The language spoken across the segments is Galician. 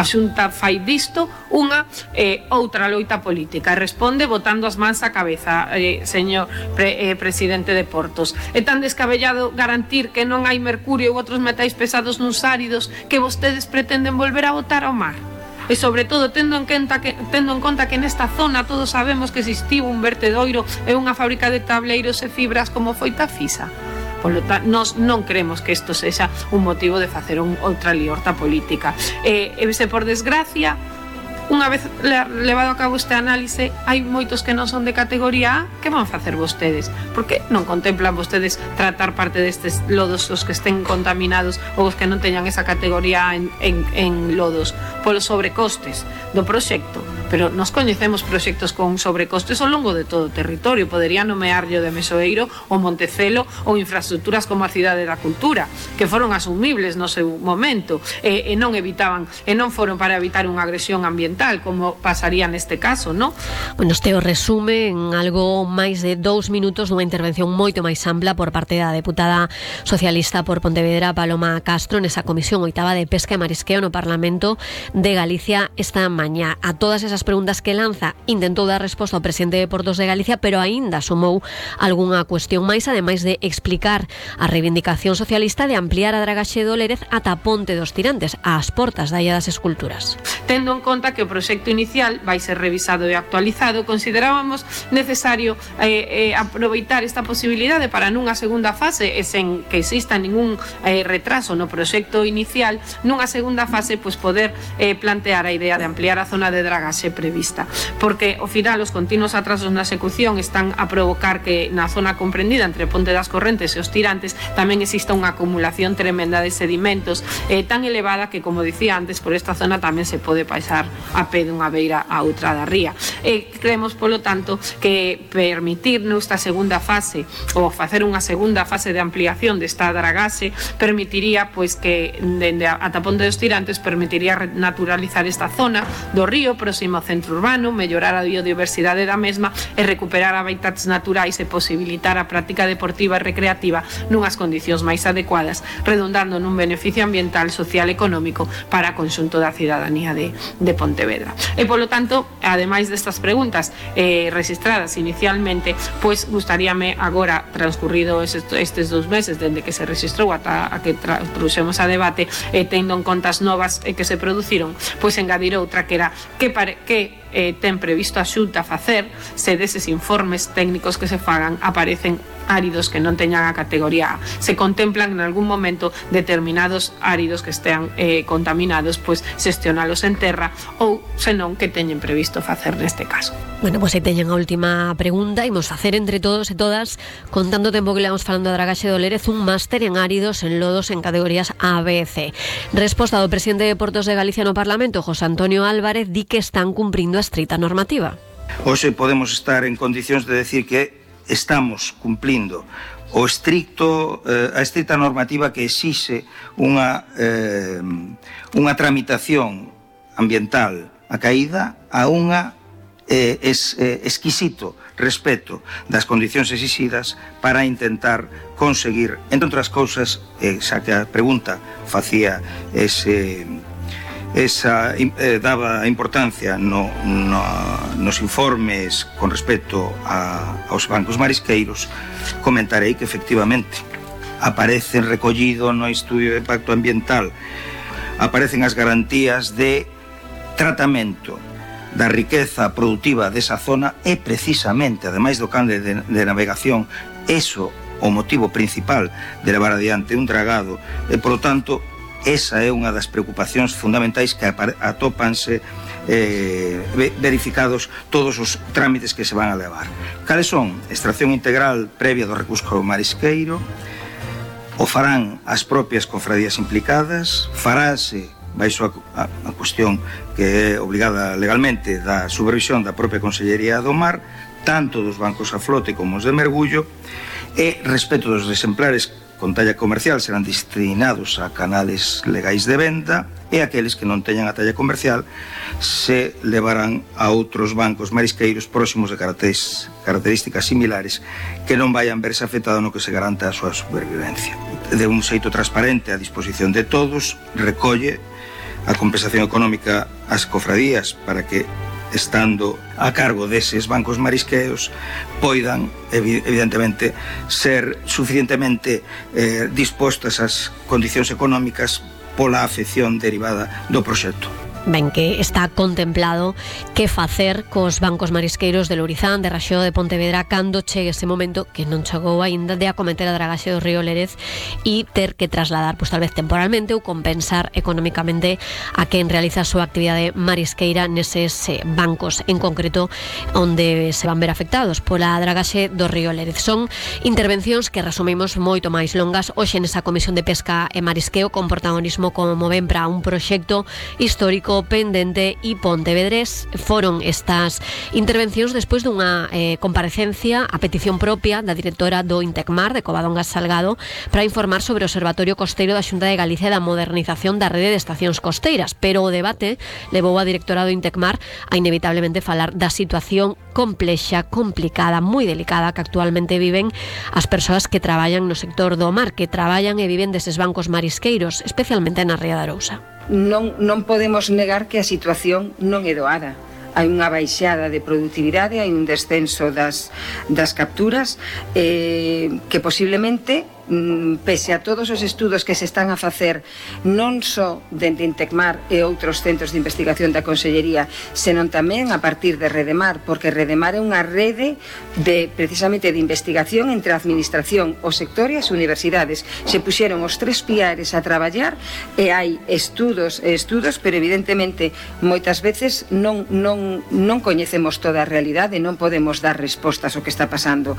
A Xunta fai disto unha outra loita política e responde botando as mans á cabeza, señor presidente de Portos. É tan descabellado garantir que non hai mercurio ou outros metais pesados nos áridos que vostedes pretenden volver a botar ao mar. E sobre todo tendo en conta que nesta zona todos sabemos que existiu un vertedoiro e unha fábrica de tableiros e fibras como foi Tafisa. Polo tanto, nós non creemos que isto sexa un motivo de facer outra liorta política. Se por desgracia, unha vez levado a cabo este análise, hai moitos que non son de categoría A, que van facer vostedes? Por que non contemplan vostedes tratar parte destes lodos os que estén contaminados ou os que non teñan esa categoría A en lodos? Polos sobrecostes do proxecto. Pero nos coñecemos proxectos con sobrecostes ao longo de todo o territorio. Podería nomearlle o de Mesoeiro, o Montecelo ou infraestructuras como a Cidade da Cultura, que foron asumibles no seu momento e non foron para evitar unha agresión ambiental, como pasaría neste caso, non? Bueno, este o resume en algo máis de 2 minutos dunha intervención moito máis ampla por parte da deputada socialista por Pontevedra, Paloma Castro, nesa comisión oitava de Pesca e Marisqueo no Parlamento de Galicia esta mañá. A todas esas preguntas que lanza intentou dar resposta ao presidente de Portos de Galicia, pero aínda sumou algunha cuestión máis, ademais de explicar a reivindicación socialista de ampliar a dragaxe do Lérez ata Ponte dos Tirantes, ás portas da Illa das Esculturas. Tendo en conta que o proxecto inicial vai ser revisado e actualizado, considerábamos necesario aproveitar esta posibilidade para nunha segunda fase, e sen que exista ningún retraso no proxecto inicial, nunha segunda fase poder plantear a idea de ampliar a zona de dragaxe prevista, porque ao final os continuos atrasos na execución están a provocar que na zona comprendida entre Ponte das Correntes e os Tirantes tamén exista unha acumulación tremenda de sedimentos tan elevada que, como dicía antes, por esta zona tamén se pode pasar a pé dunha beira a outra da ría. Creemos, polo tanto, que permitir nesta segunda fase ou facer unha segunda fase de ampliación desta dragaxe permitiría que dende ata Ponte dos Tirantes permitiría naturalizar esta zona do río próximo ao centro urbano, mellorar a biodiversidade da mesma e recuperar hábitats naturais e posibilitar a práctica deportiva e recreativa nunhas condicións máis adecuadas, redundando nun beneficio ambiental, social e económico para o conxunto da cidadanía de Pontevedra. E, polo tanto, ademais destas preguntas registradas inicialmente, gustaríame agora, transcurrido estes 2 meses dende que se registrou ata a que trouxemos a debate, tendo en conta as novas que se produciron, engadir outra que era que ten previsto a Xunta facer se deses informes técnicos que se fagan aparecen áridos que non teñan a categoría A. Se contemplan en algún momento determinados áridos que estean contaminados, xestionalos en terra ou, senón, que teñen previsto facer neste caso. Bueno, aí teñen a última pregunta. Imos facer entre todos e todas, con tanto tempo que levamos falando da dragaxe do Lérez, un máster en áridos, en lodos, en categorías A, B e C. Resposta do presidente de Portos de Galicia no Parlamento, José Antonio Álvarez, di que están cumprindo a estrita normativa. Hoxe podemos estar en condicións de decir que estamos cumplindo a estrita normativa que exixe unha tramitación ambiental acaída a unha exquisito respeto das condicións exixidas para intentar conseguir, entre outras cousas, xa que a pregunta facía daba importancia nos informes con respecto aos bancos marisqueiros, comentarei que efectivamente aparecen recollido no estudio de impacto ambiental, aparecen as garantías de tratamento da riqueza produtiva desa zona e precisamente, ademais do can de navegación, eso o motivo principal de levar adiante un dragado e, polo tanto, esa é unha das preocupacións fundamentais que atópanse verificados todos os trámites que se van a levar. Cales son? Extracción integral previa do recurso marisqueiro, o farán as propias cofradías implicadas, farase baixo a cuestión que é obligada legalmente da supervisión da propia Consellería do Mar, tanto dos bancos a flote como os de mergullo, e respecto dos exemplares con talla comercial serán destinados a canales legais de venda e aqueles que non teñan a talla comercial se levarán a outros bancos marisqueiros próximos de características similares que non vayan verse afectado no que se garanta a súa supervivencia. De un xeito transparente a disposición de todos, recolle a compensación económica ás cofradías para que, estando a cargo deses bancos marisqueos, poidan, evidentemente, ser suficientemente dispostas ás condicións económicas pola afección derivada do proxecto. Ben, que está contemplado que facer cos bancos marisqueiros de Lourizán, de Raxó, de Pontevedra, cando chegue ese momento, que non chegou aínda, de acometer a dragaxe do río Lérez e ter que trasladar, pois tal vez temporalmente, ou compensar económicamente a quen realiza a súa actividade marisqueira neses bancos, en concreto onde se van ver afectados pola dragaxe do río Lérez. Son intervencións que resumimos moito máis longas hoxe nesa Comisión de Pesca e Marisqueo, con protagonismo, como ven, para un proxecto histórico pendente e pontevedrés. Foron estas intervencións despois dunha comparecencia a petición propia da directora do Intecmar, de Covadonga Salgado, para informar sobre o Observatorio Costeiro da Xunta de Galicia da modernización da rede de estacións costeiras, pero o debate levou a directora do Intecmar a inevitablemente falar da situación complexa, complicada, moi delicada que actualmente viven as persoas que traballan no sector do mar, que traballan e viven deses bancos marisqueiros, especialmente na Ría de Arousa. Non podemos negar que a situación non é doada. Hai unha baixada de productividade, hai un descenso das capturas que posiblemente, pese a todos os estudos que se están a facer non só dende Intecmar e outros centros de investigación da Consellería, senón tamén a partir de Redemar, porque Redemar é unha rede precisamente de investigación entre a administración, o sector e as universidades. Se puxeron os tres piares a traballar e hai estudos, pero evidentemente moitas veces non coñecemos toda a realidade, non podemos dar respostas ao que está pasando.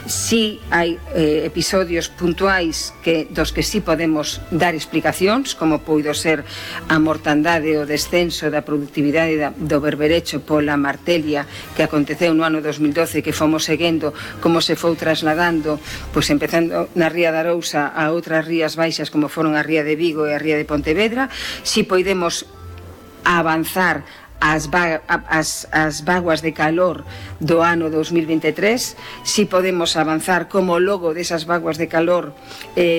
Si hai episodios puntuais dos que sí podemos dar explicacións, como puido ser a mortandade, o descenso da productividade do berberecho pola martelia que aconteceu no ano 2012, que fomos seguendo como se foi trasladando, pois empezando na Ría de Arousa a outras rías baixas como foron a Ría de Vigo e a Ría de Pontevedra. Si podemos avanzar as vaguas de calor do ano 2023, si podemos avanzar como logo desas vaguas de calor,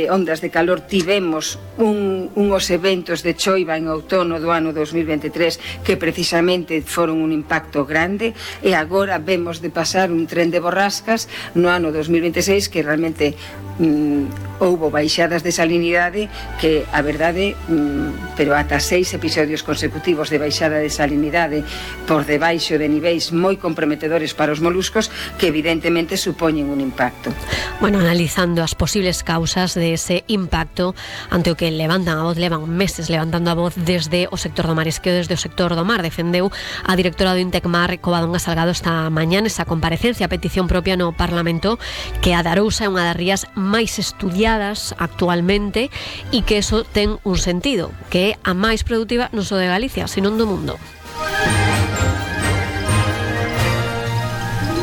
ondas de calor, tivemos uns eventos de choiva en outono do ano 2023 que precisamente foron un impacto grande, e agora vemos de pasar un tren de borrascas no ano 2026 que realmente houbo baixadas de salinidade que, a verdade, pero ata 6 episodios consecutivos de baixada de salinidade por debaixo de niveis moi comprometedores para os moluscos, que evidentemente supoñen un impacto. Bueno, analizando as posibles causas de ese impacto, ante o que levantan a voz, levan meses levantando a voz desde o sector do marisqueo, desde o sector do mar, defendeu a directora do Intecmar, Covadonga Salgado, esta mañá nesa comparecencia a petición propia no Parlamento, que a de Arousa é unha das rías máis estudiadas actualmente e que eso ten un sentido, que é a máis produtiva non só de Galicia, senón do mundo.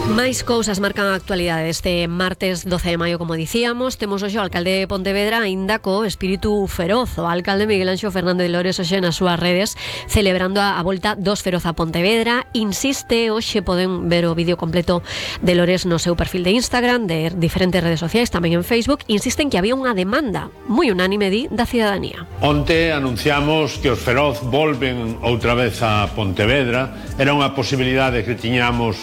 Máis cousas marcan a actualidade este martes 12 de maio, como dicíamos. Temos hoxe o alcalde de Pontevedra aínda co espírito feroz. O alcalde Miguel Anxo Fernández de Lores hoxe nas súas redes celebrando a volta dos Feroz a Pontevedra. Insiste, hoxe poden ver o vídeo completo de Lores no seu perfil de Instagram, de diferentes redes sociais, tamén en Facebook. Insisten que había unha demanda moi unánime da cidadanía. Onte anunciamos que os Feroz volven outra vez a Pontevedra. Era unha posibilidade que tiñamos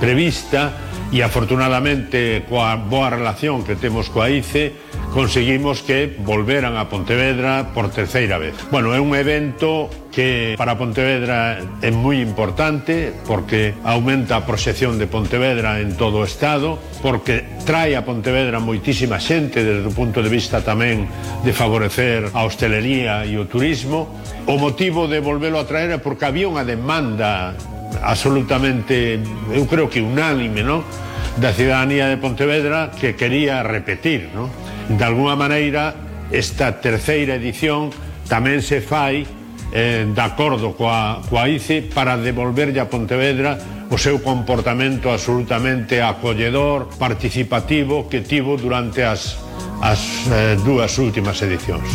prevista e afortunadamente coa boa relación que temos coa ICE conseguimos que volveran a Pontevedra por terceira vez. Bueno, é un evento que para Pontevedra é moi importante porque aumenta a proxección de Pontevedra en todo o Estado, porque trae a Pontevedra moitísima xente desde o punto de vista tamén de favorecer a hostelería e o turismo. O motivo de volvelo a traer é porque había unha demanda absolutamente, eu creo que unánime, ¿no?, da cidadanía de Pontevedra que quería repetir, ¿no? De alguna maneira esta terceira edición tamén se fai de acordo coa ICE para devolverlle a Pontevedra o seu comportamento absolutamente acolledor, participativo que tivo durante as dúas últimas edicións.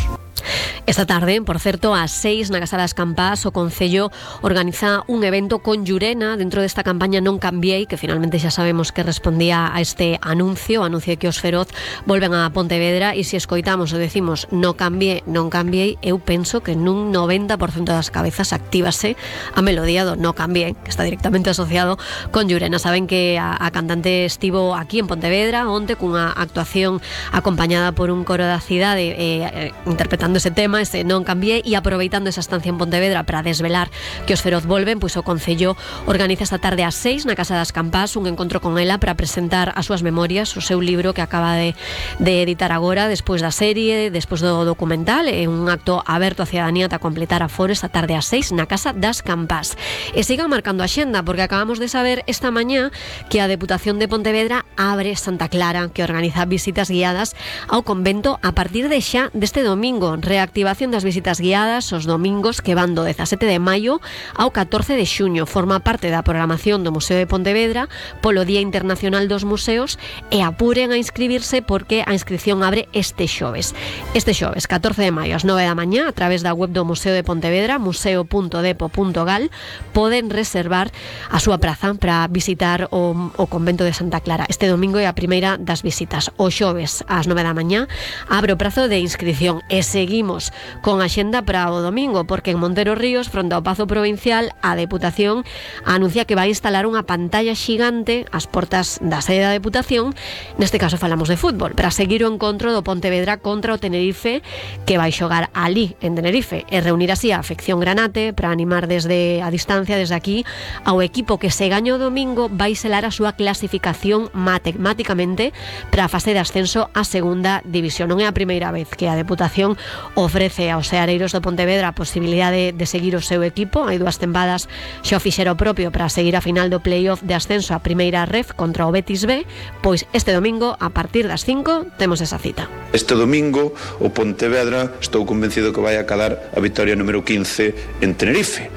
Esta tarde, por certo, ás 6 na Casa das Campás, o Concello organiza un evento con Llurena dentro desta campaña Non Cambiei, que finalmente xa sabemos que respondía a este anuncio de que os Feroz volven a Pontevedra, e se escoitamos ou decimos non cambiei, eu penso que nun 90% das cabezas actívase a melodía do Non Cambiei, que está directamente asociado con Llurena. Saben que a cantante estivo aquí en Pontevedra onte cunha actuación acompañada por un coro da cidade interpretando ese tema, ese Non Cambiei, e aproveitando esa estancia en Pontevedra para desvelar que os Feroz volven, pois o Concello organiza esta tarde ás 6 na Casa das Campás un encontro con ela para presentar as súas memorias, o seu libro que acaba de editar agora despois da serie, despois do documental. É un acto aberto a cidadanía para completar aforo esta tarde ás 6 na Casa das Campás. E sigan marcando a xenda, porque acabamos de saber esta mañá que a Deputación de Pontevedra abre Santa Clara, que organiza visitas guiadas ao convento a partir de xa deste domingo. Reactivación das visitas guiadas os domingos que van do 17 de maio ao 14 de xuño. Forma parte da programación do Museo de Pontevedra polo Día Internacional dos Museos, e apuren a inscribirse porque a inscripción abre este xoves. Este xoves, 14 de maio, ás 9 da mañá, a través da web do Museo de Pontevedra, museo.depo.gal, poden reservar a súa praza para visitar o convento de Santa Clara. Este domingo é a primeira das visitas. O xoves, ás 9 da mañá, abre o prazo de inscripción. E seguimos con a xenda para o domingo, porque en Montero Ríos, fronte ao Pazo Provincial, a Deputación anuncia que vai instalar unha pantalla xigante ás portas da sede da Deputación. Neste caso falamos de fútbol, para seguir o encontro do Pontevedra contra o Tenerife, que vai xogar ali en Tenerife, e reunir así a afección granate para animar desde a distancia, desde aquí, ao equipo que se gaño o domingo vai selar a súa clasificación matemáticamente para a fase de ascenso á segunda división. Non é a primeira vez que a Deputación ofrece aos seareiros do Pontevedra a posibilidade de seguir o seu equipo. Hai dúas tempadas xa o fixera o propio para seguir a final do playoff de ascenso a primeira ref contra o Betis B. Pois este domingo, a partir das 5, temos esa cita. Este domingo o Pontevedra estou convencido que vai acabar a vitoria número 15 en Tenerife.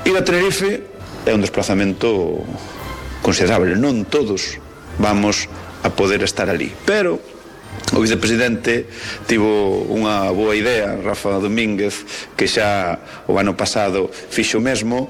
Ir a Tenerife é un desplazamento considerable, non todos vamos a poder estar ali, pero o vicepresidente tivo unha boa idea, Rafa Domínguez, que xa o ano pasado fixo mesmo.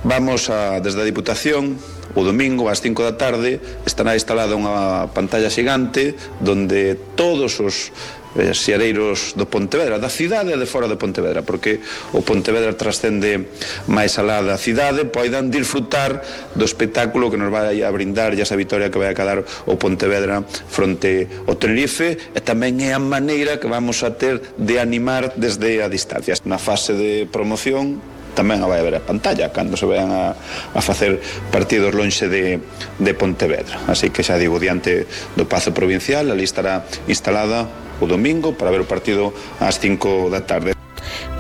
Vamos desde a Diputación, o domingo ás 5 da tarde estará instalada unha pantalla xigante donde todos os seareiros do Pontevedra, da cidade e de fora de Pontevedra, porque o Pontevedra trascende máis alá da cidade, poidan disfrutar do espectáculo que nos vai a brindar esa vitoria que vai a quedar o Pontevedra fronte ao Tenerife, e tamén é a maneira que vamos a ter de animar desde a distancia. Na fase de promoción tamén a vai haber a pantalla cando se vean a facer partidos lonxe de Pontevedra, así que xa digo, diante do Pazo Provincial, ali estará instalada o domingo para ver o partido ás 5 da tarde.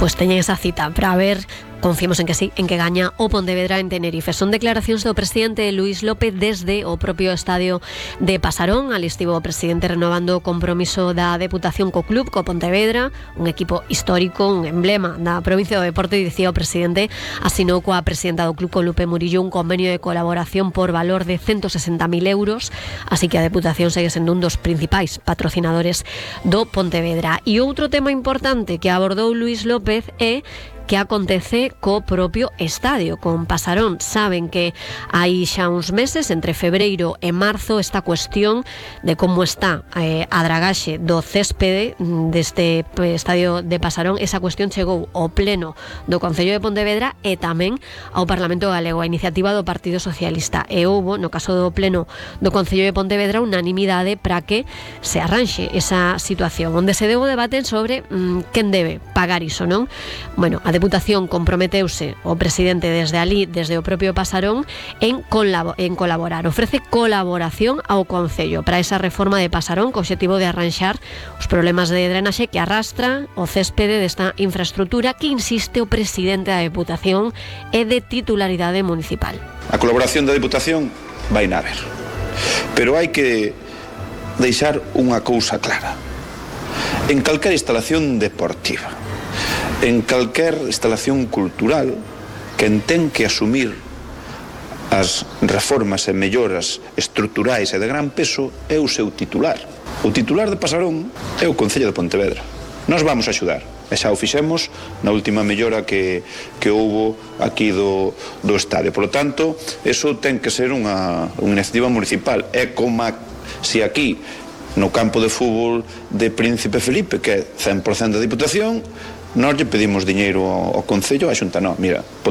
Pois teñen esa cita para ver. Confiemos en que sí, en que gaña o Pontevedra en Tenerife. Son declaracións do presidente Luís López desde o propio estadio de Pasarón. Ali estivo o presidente renovando o compromiso da Deputación co club, co Pontevedra, un equipo histórico, un emblema da provincia do deporte, e dicía o presidente, asinou coa presidenta do club, con Lupe Murillo, un convenio de colaboración por valor de 160.000 euros, así que a Deputación segue sendo un dos principais patrocinadores do Pontevedra. E outro tema importante que abordou Luís López é que acontece co propio estadio, con Pasarón. Saben que hai xa uns meses, entre febreiro e marzo, esta cuestión de como está a dragaxe do céspede deste estadio de Pasarón, esa cuestión chegou ao pleno do Concello de Pontevedra e tamén ao Parlamento Galego, a iniciativa do Partido Socialista, e houbo, no caso do pleno do Concello de Pontevedra, unanimidade para que se arranxe esa situación, onde se deu o debate sobre quen debe pagar iso, non? Bueno, a Deputación comprometeuse o presidente desde ali, desde o propio Pasarón, en colaborar. Ofrece colaboración ao Concello para esa reforma de Pasarón, co obxectivo de arranxar os problemas de drenaxe que arrastra o céspede desta infraestructura, que insiste o presidente da Deputación é de titularidade municipal. A colaboración da Deputación vai na haber, pero hai que deixar unha cousa clara. En calquera instalación deportiva, en calquer instalación cultural, quen ten que asumir as reformas e melloras estruturais e de gran peso é o seu titular. O titular de Pasarón é o Concello de Pontevedra. Nós vamos a axudar, e xa o fixemos na última mellora que houbo aquí do estadio. Por lo tanto, eso ten que ser unha iniciativa municipal. É como se aquí no campo de fútbol de Príncipe Felipe, que é 100% da Diputación, nós lle pedimos diñeiro ao Concello, a Xunta, non, mira,